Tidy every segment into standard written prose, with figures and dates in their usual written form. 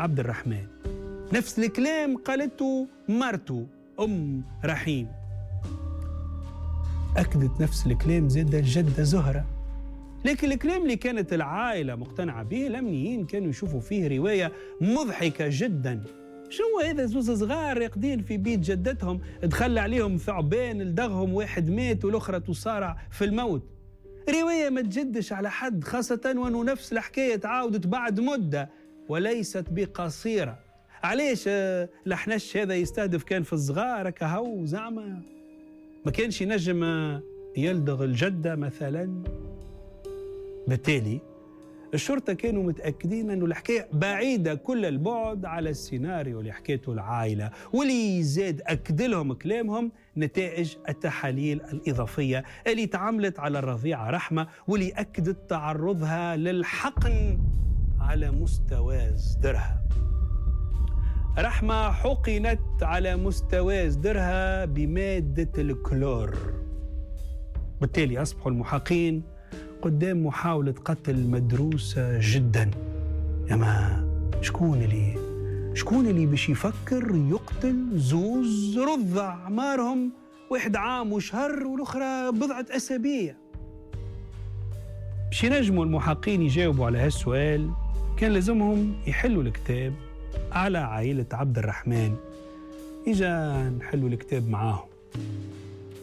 عبد الرحمن. نفس الكلام قالته مرته أم رحيم. أكدت نفس الكلام زاد الجدة زهرة. لكن الكلام اللي كانت العائلة مقتنعة به الأمنيين كانوا يشوفوا فيه رواية مضحكة جدا. شو هذا؟ زوز صغار راقدين في بيت جدتهم، دخل عليهم ثعبان لدغهم، واحد مات والأخرى تصارع في الموت. رواية ما تجدش على حد، خاصة وأنه نفس الحكاية تعاودت بعد مدة وليست بقصيرة. علاش الحنش هذا يستهدف كان في الصغار كهو؟ زعما ما كانش ينجم يلدغ الجدة مثلا؟ بالتالي الشرطة كانوا متأكدين أنه الحكاية بعيدة كل البعد على السيناريو اللي حكيته العائلة، واللي زاد أكد لهم كلامهم نتائج التحاليل الإضافية اللي تعملت على الرضيعة رحمة، واللي أكدت تعرضها للحقن على مستوى صدرها. رحمة حقنت على مستوى صدرها بمادة الكلور. بالتالي أصبحوا المحقين قدام محاولة قتل مدروسة جدا. أما شكون اللي باش يفكر يقتل زوز رضع أعمارهم واحد عام وشهر والأخرى بضعة أسابيع؟ باش ينجموا المحقين يجاوبوا على هالسؤال كان لازمهم يحلوا الكتاب على عائلة عبد الرحمن. إجا نحلوا الكتاب معاهم.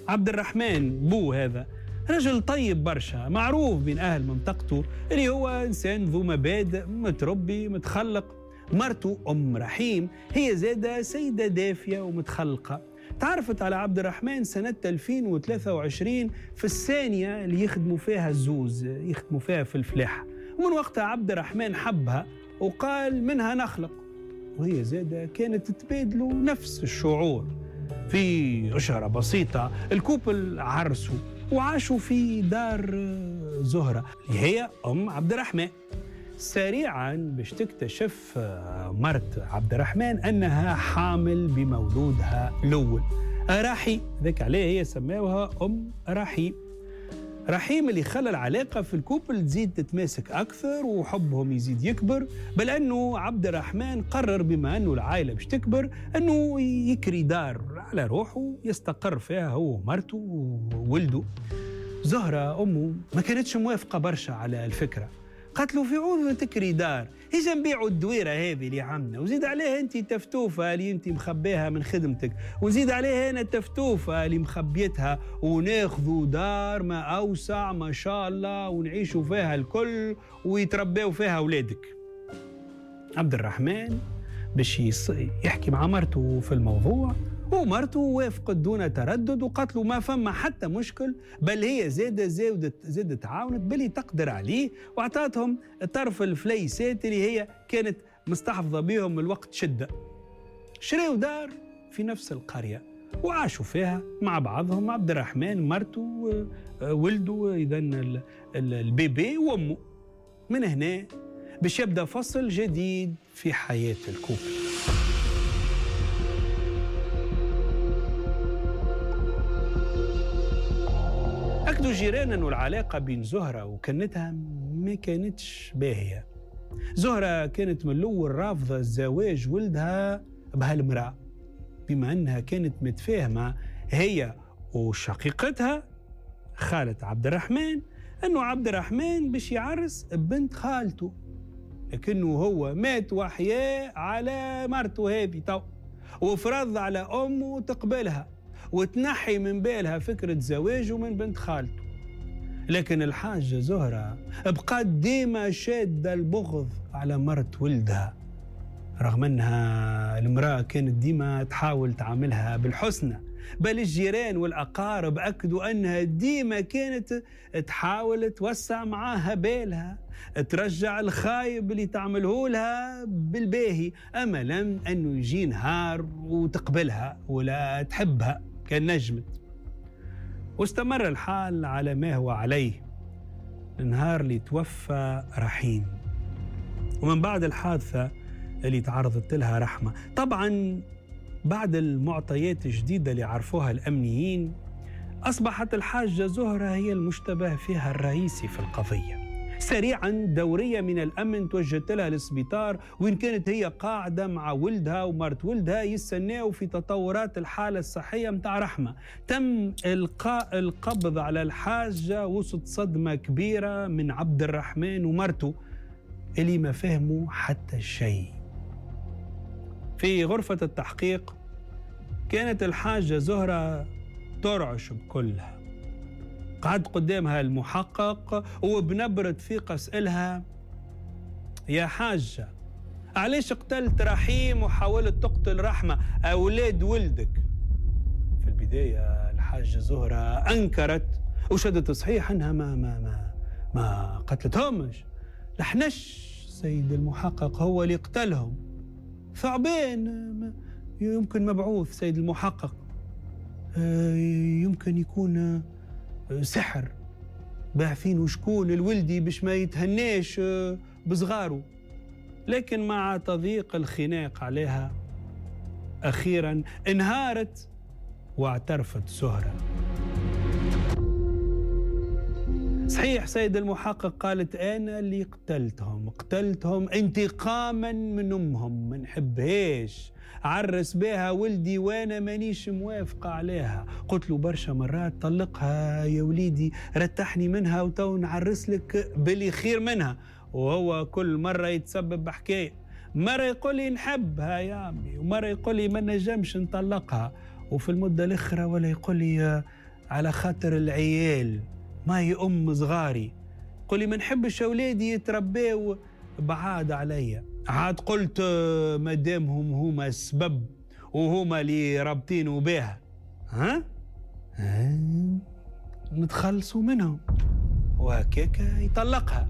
عبد الرحمن بو هذا رجل طيب برشا، معروف بين أهل منطقته اللي هو إنسان ذو مبادئ، متربي، متخلق. مرته أم رحيم هي زادة سيدة دافية ومتخلقة. تعرفت على عبد الرحمن سنة 2023 في الثانية اللي يخدموا فيها الزوز، يخدموا فيها في الفلاحة. ومن وقتها عبد الرحمن حبها وقال منها نخلق، وهي زادة كانت تتبادلوا نفس الشعور. في أشهر بسيطة الكوبل عرسوا وعاشوا في دار زهرة اللي هي أم عبد الرحمن. سريعا باش تكتشف مرت عبد الرحمن أنها حامل بمولودها الأول رحيم. ذاك عليه هي سماوها أم رحيم. رحيم اللي خلى العلاقة في ال couple تزيد تتماسك أكثر وحبهم يزيد يكبر، بل أنه عبد الرحمن قرر بما أنه العائلة باش تكبر أنه يكري دار على روحه يستقر فيها هو ومرته وولده. زهرة أمه ما كانتش موافقة برشا على الفكرة، قالت له في عوض تكري دار إجا نبيعوا الدويرة هذه اللي عندنا، وزيد عليها أنت تفتوفة اللي أنت مخبيها من خدمتك، وزيد عليها أنا التفتوفة اللي مخبيتها، وناخذوا دار ما أوسع ما شاء الله ونعيشوا فيها الكل ويتربوا فيها أولادك. عبد الرحمن باش يحكي مع مرته في الموضوع، ومرته وافقت دون تردد وقالت له ما فما حتى مشكل، بل هي زادت تعاونت باللي تقدر عليه، واعطاتهم طرف الفليسات اللي هي كانت مستحفظة بهم الوقت شدة. شريوا دار في نفس القرية وعاشوا فيها مع بعضهم، عبد الرحمن مرته ولده إذن البيبي وأمه. من هنا باش يبدأ فصل جديد في حياة ال couple. أكدوا الجيران أنه العلاقة بين زهرة وكنتها ما كانتش باهية. زهرة كانت من الأول رافضة الزواج ولدها بهالمرأة، بما أنها كانت متفاهمة هي وشقيقتها خالة عبد الرحمن أنه عبد الرحمن باش يعرس بنت خالته، لكنه هو مات وحياه على مرته هذه تو، وفرض على أمه تقبلها وتنحي من بالها فكرة زواجه من بنت خالته. لكن الحاجة زهرة بقت ديما شادة البغض على مرت ولدها، رغم أنها المرأة كانت ديما تحاول تعاملها بالحسنى، بل الجيران والأقارب أكدوا أنها ديما كانت تحاول توسع معاها بالها، ترجع الخايب اللي تعمله لها بالباهي، أملا أنه يجي نهار وتقبلها ولا تحبها كان نجمت. واستمر الحال على ما هو عليه النهار اللي توفى رحيم، ومن بعد الحادثة اللي تعرضت لها رحمة. طبعا بعد المعطيات الجديدة اللي عرفوها الأمنيين، أصبحت الحاجة زهرة هي المشتبه فيها الرئيسي في القضية. سريعا دورية من الأمن توجهت لها للسبيطار، وين كانت هي قاعدة مع ولدها ومرت ولدها يستناو في تطورات الحالة الصحية متاع رحمة. تم إلقاء القبض على الحاجة وسط صدمة كبيرة من عبد الرحمن ومرته اللي ما فهموا حتى شيء. في غرفة التحقيق كانت الحاجة زهرة ترعش بكلها. قعد قدامها المحقق وبنبرة ثقة سألها: يا حاجة، علاش قتلت رحيم وحاولت تقتل رحمة أولاد ولدك؟ في البداية الحاجة زهرة أنكرت وشدت صحيح أنها ما ما ما ما قتلتهمش. لحنش سيد المحقق هو اللي قتلهم، ثعبان يمكن مبعوث سيد المحقق، يمكن يكون سحر باعثين وشكون الولدي باش ما يتهناش بصغاره. لكن مع تضييق الخناق عليها أخيرا انهارت واعترفت زهرة. صحيح سيد المحقق، قالت أنا اللي قتلتهم، قتلتهم انتقاما من أمهم، ما نحبهاش، عرس بها ولدي وأنا مانيش موافقة عليها. قلت له برشا مرات طلقها يا وليدي، رتحني منها وتو نعرس لك باللي خير منها، وهو كل مرة يتسبب بحكاية، مرة يقول لي نحبها يا عمي، ومرة يقول لي ما نجمش نطلقها، وفي المدة الأخرى ولا يقول لي على خاطر العيال، ما هي أم صغاري، قل لي ما نحبش أولادي يترباو بعاد عليا. عاد قلت ما دامهم هما السبب وهما اللي رابطينه بها، ها؟ نتخلصوا منهم، وهكاك يطلقها.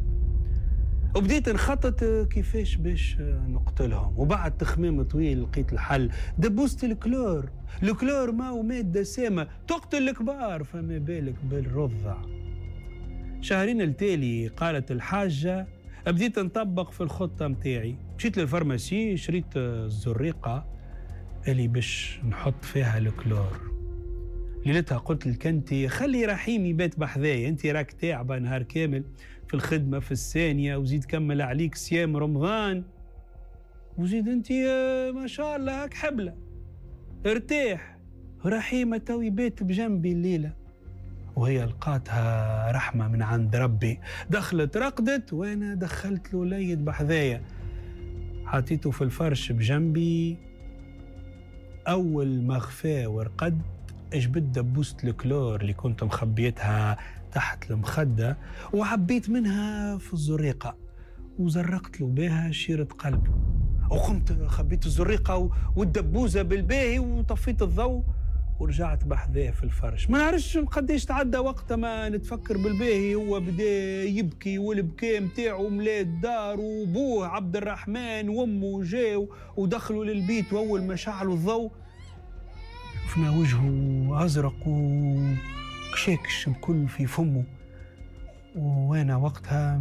وبديت نخطط كيفاش باش نقتلهم، وبعد تخميم طويل لقيت الحل. دبوست الكلور، الكلور ما هو مادة سامة تقتل الكبار، فما بالك بالرضع. شهرين التالي قالت الحاجة بديت نطبق في الخطة متاعي. مشيت لل pharmacie شريت الزريقة اللي باش نحط فيها الكلور. ليلتها قلت لكنتي خلي رحيم يبات بحذايا، انت راك تعبة نهار كامل في الخدمة في الثانية، وزيد كمل عليك صيام رمضان، وزيد انت ما شاء الله هاك حبلة، ارتاح. رحيمة تو يبات بجنبي الليلة. وهي لقاتها رحمة من عند ربي، دخلت رقدت وانا دخلت له ليد بحذايا، حطيته في الفرش بجنبي. أول ما غفى ورقد جبت دبوسة الكلور اللي كنت مخبيتها تحت المخدة وعبيت منها في الزريقة وزرقت له بها شيرة قلبه، وقمت خبيت الزريقة والدبوزة بالباهي وطفيت الضوء ورجعت بحذاه في الفرش. ما نعرفش قديش تعدى وقت ما نتفكر بالباهي، هو بدا يبكي والبكاء متاعه ملا الدار، وبوه عبد الرحمن وامه جاو ودخلوا للبيت، واول ما شعلوا الضوء شفنا وجهه ازرق وكشاكش بكل في فمه. وانا وقتها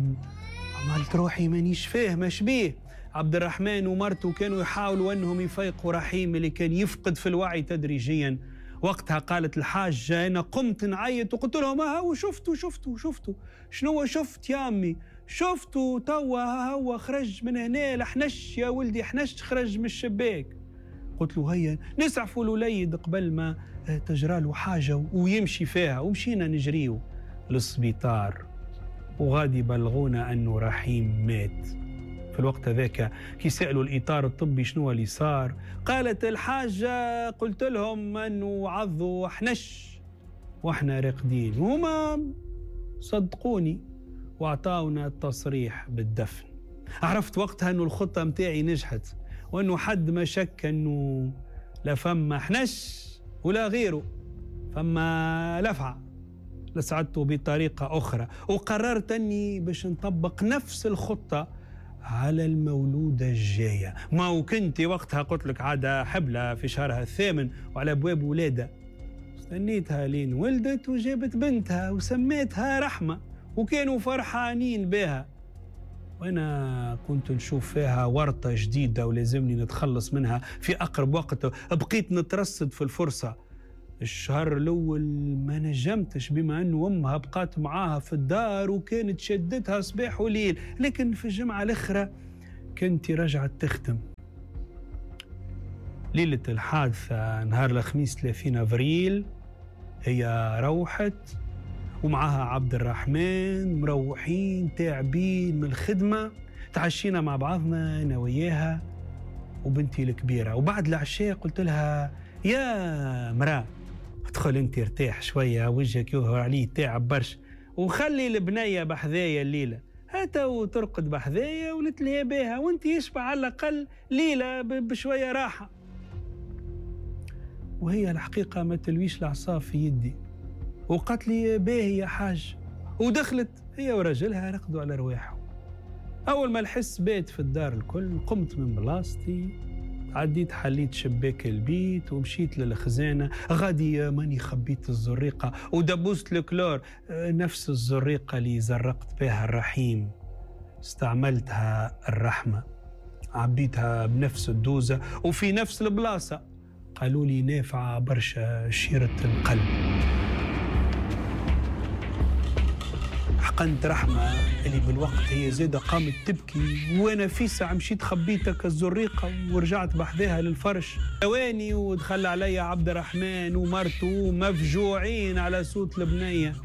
عملت روحي مانيش فاهمه شبيه. عبد الرحمن ومرته كانوا يحاولوا انهم يفيقوا رحيم اللي كان يفقد في الوعي تدريجيا. وقتها قالت الحاجة أنا قمت نعيط وقلت لهم هاو شفتوا شفتوا شفتوا شنو شفت يا أمي، شفتوا توا هو خرج من هنا لحنش يا ولدي، حنش خرج من الشباك. قلت له هيا نسعفوا الوليد قبل ما تجرى له حاجة ويمشي فيها. ومشينا نجريو للسبيطار وغادي بلغونا أنه رحيم مات. في الوقت هذاك كي سألوا الإطار الطبي شنو اللي صار، قالت الحاجة قلت لهم أنه عضوا حنش وإحنا راقدين، وهما صدقوني وأعطاونا التصريح بالدفن. عرفت وقتها أنه الخطة متاعي نجحت، وأنه حد ما شك أنه لا فما حنش ولا غيره، فما لفعة. لسعدته بطريقة أخرى، وقررت أني باش نطبق نفس الخطة على المولودة الجاية. ما وكنت وقتها قلت لك عادة حبلة في شهرها الثامن وعلى أبواب ولادة. استنيتها لين ولدت وجابت بنتها وسميتها رحمة، وكانوا فرحانين بها، وأنا كنت نشوف فيها ورطة جديدة ولازمني نتخلص منها في أقرب وقت. بقيت نترصد في الفرصة. الشهر الأول ما نجمتش بما أنه أمها بقات معاها في الدار وكانت شدتها صباح وليل، لكن في الجمعة الأخرى كنت رجعت تخدم. ليلة الحادثة نهار الخميس 30 أفريل هي روحت ومعها عبد الرحمن، مروحين تعبين من الخدمة، تعشينا مع بعضنا أنا وياها وبنتي الكبيرة. وبعد العشاء قلت لها يا مرأة ادخل انت ارتاح شوية، وجهك يظهر عليه تعب برشا، وخلي البنية بحذايا الليلة، هتا وترقد بحذايا ونتلهي بها، وانت يشبع على الأقل ليلة بشوية راحة. وهي الحقيقة ما تلويش العصا في يدي، وقالت لي باهي يا حاج، ودخلت هي ورجلها رقدوا على رواحهم. أول ما الحس بات في الدار الكل قمت من بلاصتي، عديت حليت شباك البيت ومشيت للخزانة، غادي ماني خبيت الزريقة ودبوست الكلور، نفس الزريقة اللي زرقت بها الرحيم استعملتها الرحمة، عبيتها بنفس الدوزة وفي نفس البلاصة. قالوا لي نافعة برشا شيرة القلب. حقنت رحمة اللي بالوقت هي زادة قامت تبكي، وانا في ساعة مشيت خبيتك الزريقة ورجعت بحذاها للفرش. ثواني ودخل علي عبد الرحمن ومرته مفجوعين على صوت البنية،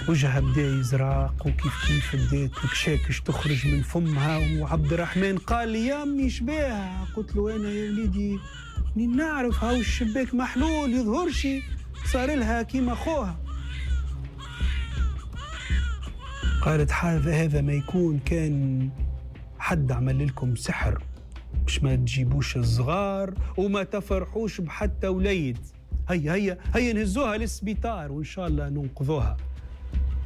وجهها بدا يزرق وكيف كيف بدات الكشاكش تخرج من فمها. وعبد الرحمن قال لي يا امي شباها؟ قلت له انا يا وليدي نعرف، هاو الشباك محلول يظهرش صار لها كيما خوها. قالت هذا ما يكون كان حد عمل لكم سحر باش ما تجيبوش الصغار وما تفرحوش بحتى وليد. هيا هيا هيا نهزوها للسبيطار وإن شاء الله ننقذوها.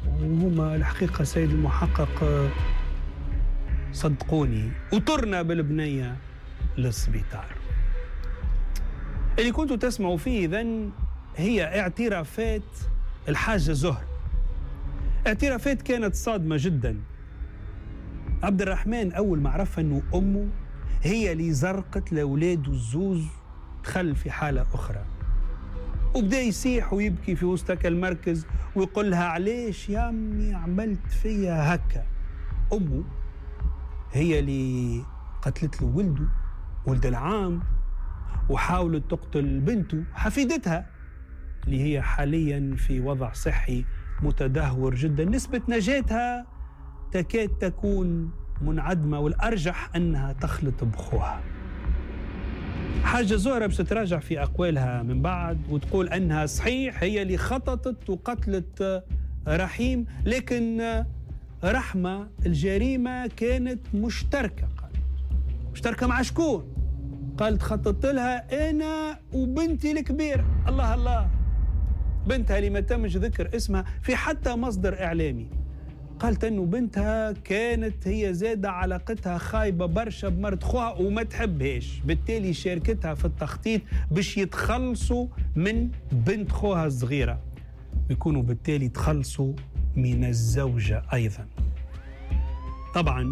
وهما الحقيقة سيد المحقق صدقوني وطرنا بالبنية للسبيطار. اللي كنتوا تسمعوا فيه إذن هي اعترافات الحاجة زهر، اعترافات كانت صادمة جدا. عبد الرحمن أول ما عرف أنه أمه هي اللي زرقت لأولاده الزوز دخل في حالة أخرى، وبدأ يصيح ويبكي في وسط المركز ويقول لها علاش يا أمي عملت فيا هكا. أمه هي اللي قتلت له ولده، ولد العام، وحاولت تقتل بنته حفيدتها اللي هي حاليا في وضع صحي متدهور جدا، نسبة نجاتها تكاد تكون منعدمة والأرجح أنها تخلط بخوها. حاجة زهرة باش تتراجع في أقوالها من بعد وتقول أنها صحيح هي اللي خططت وقتلت رحيم، لكن رحمة الجريمة كانت مشتركة. قالت مشتركة مع شكون؟ قالت خططت لها أنا وبنتي الكبيرة. الله الله، بنتها اللي ما تمش ذكر اسمها في حتى مصدر إعلامي. قالت أنه بنتها كانت هي زادة علاقتها خايبة برشا بمرت خوها وما تحبهاش، بالتالي شاركتها في التخطيط باش يتخلصوا من بنت خوها الصغيرة ويكونوا بالتالي تخلصوا من الزوجة أيضا. طبعا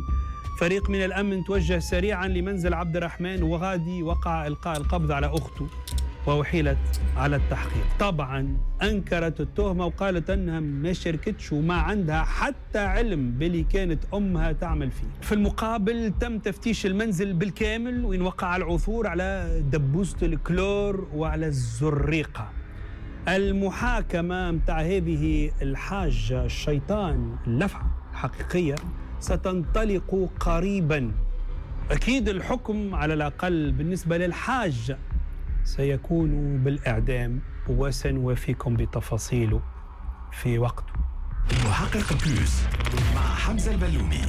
فريق من الأمن توجه سريعا لمنزل عبد الرحمن وغادي وقع إلقاء القبض على أخته وأحيلت على التحقيق. طبعا أنكرت التهمة وقالت أنها ما شاركتش وما عندها حتى علم باللي كانت أمها تعمل فيه. في المقابل تم تفتيش المنزل بالكامل وإن وقع العثور على دبوسة الكلور وعلى الزريقة. المحاكمة متاع هذه الحاجة الشيطان اللفعة الحقيقية ستنطلق قريبا. أكيد الحكم على الأقل بالنسبة للحاجة سيكون بالإعدام، وسنوافيكم بتفاصيله في وقته. المحقق بلوس مع حمزة البلومي.